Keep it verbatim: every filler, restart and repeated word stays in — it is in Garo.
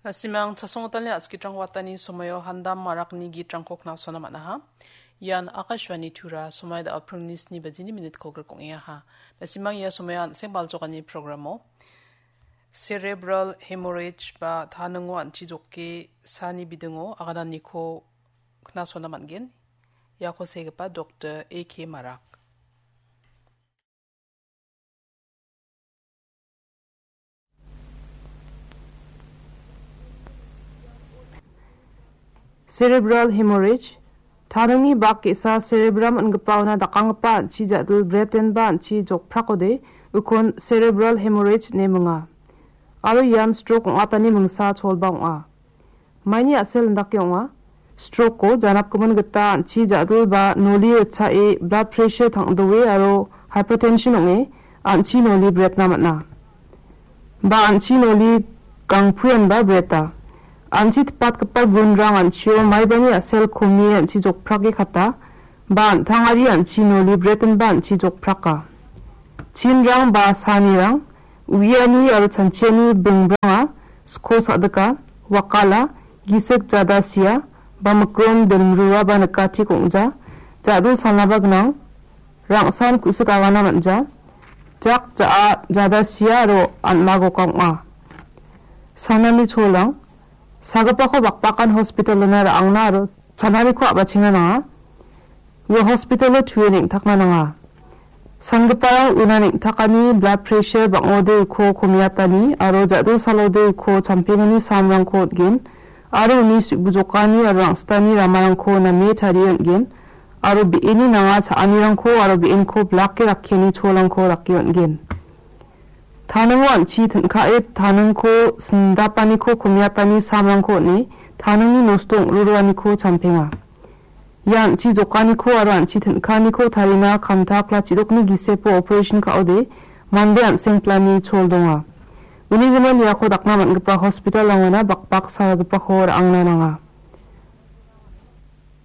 Nasimang chasonggitalni a·skitrang watani somoio Handam Marakni gitrangko knasona man·aha. Ian Akashvani Tura, somoi da·o pringni sni bajini minit kolgrik ong·engaha. Nasimang ia somoio an·seng baljokani programo cerebral hemorrhage ba taningo an·chi joke saani bidingo agananiko knasona man·gen. Iako segipa Doktor A K Marak. Cerebral hemorrhage, taningni bak ge·sa cerebrum ingipaona dakanggipa an·chi ja·dil bretenba an·chi jokprakode, ukon cerebral hemorrhage ine minga. Aro ian stroke ong·atani mingsa cholba ong·a. Maini a·sel indake ong·a. Strokeko janapgimin gita an·chi ja·dil ba noli ritchae blood pressure tang·doe aro hypertension ong·e an·chi noli bretna man·a. Ba an·chi noli gangpuenba breta. An·chi tipatgipa gunrang an·chio maibani a·sel komie an·chi jokprake kata, ba an·tangari an·chi noli bretenba an·chi jokpraka. Chinrang ba saanirang, uiani aro chanchiani bingbranga, sko sa·dika, wakala, gisik jada sia, ba mikron dilmrua ba nikatik ong·ja, ja·dil salnaba gnang, rangsan ku·sik agana man·ja, jak ja·a jada sia aro an·magoka ong·a. Sanani cholang, sagipako bakbakan hospitalona ra·angna aro sananiko a·bachenga nanga. Ua hospitalo tue neng·takna nanga. Sanggiparang una neng·takani blood pressure bang·ode uko komiatani aro ja·dil salode uko champengani samrangko on·gen aro uni su·bujokani aro rang·sitani ramarangko name tarie on·gen aro be·eni nanga cha·anirangko aro be·enko blake rakkiani cholangko rake on·gen. Taningo an·chi tin·kae taningko sindapaniko komiatani samrangko on·e taningni nosto ong·roroaniko champenga. Ia an·chi jokaniko aro an·chi tin·kaaniko tarina kamtak la chidokni gisepo operation ka·ode mande an·seng plani chol donga. Uni gimin iako dakna man·gipa hospital-rangona bakbak salgipako ra·angna nanga.